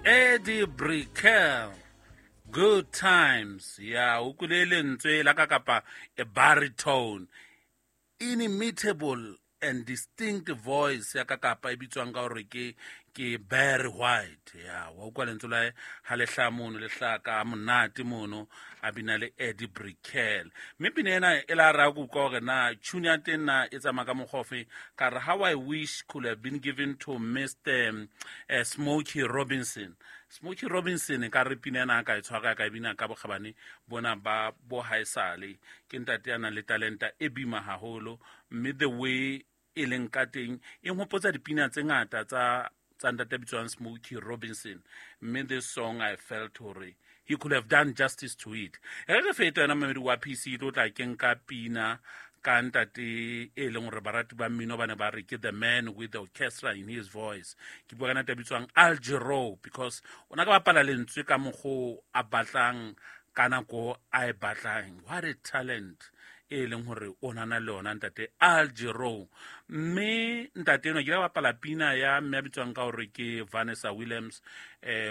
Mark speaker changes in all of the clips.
Speaker 1: Eddie Brickell, Good Times. Ya o kwile lentswe la ka kapa a baritone, inimitable and distinct voice ya ka kapa e bitswang ka hore ke Barry White. Ya wa utlwa lentswe la ha le hlaha mono, le hlaha ka monate mono, a bina le Eddie Brickell. Mme pina ena e la ra go utlwa hore na tune ya teng na e tsamaya ka mokgwa ofe. Ka re how I wish could have been given to Mr Smokey Robinson. Smokey Robinson ka re pina ena ka e tshwara ka e bina ka bokgabane bona ba bo haesale. Ke ntate ya nang le talenta e bima haholo, mme the way e leng ka teng e nhopotsa dipina tse ngata tsa ntate a bitswang Smokey Robinson. Mme this song I felt hore he could have done justice to it. E re feta yona mamedi wa PC tlo tla ke nka pina ka ntate e leng hore barati ba mmino ba ne ba re ke the man with the orchestra in his voice. Ke bua ka ntate a bitswang Al Jarreau, because o na ka bapala lentswe ka mokgo a batlang ka nako a e batlang. What a talent e leng hore o nana le yona ntate Al Jarreau. Mme ntate enwa ke ile bapala pina ya mme a bitswang ka hore ke Vanessa Williams.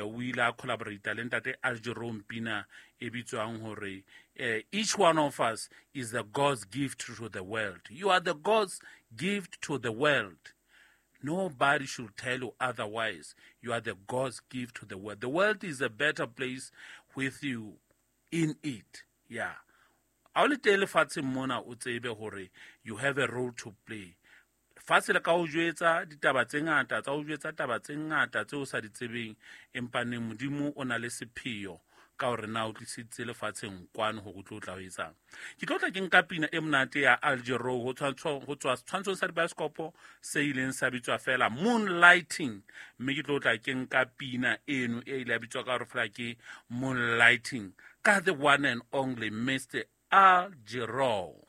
Speaker 1: O ile a collaborate le ntate Al Jarreau pina e bitswang hore each one of us is the God's gift to the world. You are the God's gift to the world. Nobody should tell you otherwise. You are the God's gift to the world. The world is a better place with you in it. Yeah. Ha o le teng lefatsheng mona, o tsebe hore you have a role to play. Lefatshe le ka o jwetsa ditaba tse ngata, tsa o jwetsa taba tse ngata tseo o sa di tsebeng, empa neng Modimo o na le sepheo ka hore na o tlisitse lefatsheng kwano hore o tlo tla o etsang. Ke tlo tla ke nka pina e monate ya Al Jarreau ho tswa setshwantshong sa dibaesekopo se ileng sa bitswa fela Moonlighting, mme ke tlo tla ke nka pina eno e ile ya bitswa ka hore fela ke Moonlighting ka the one and only Mr Al Jarreau.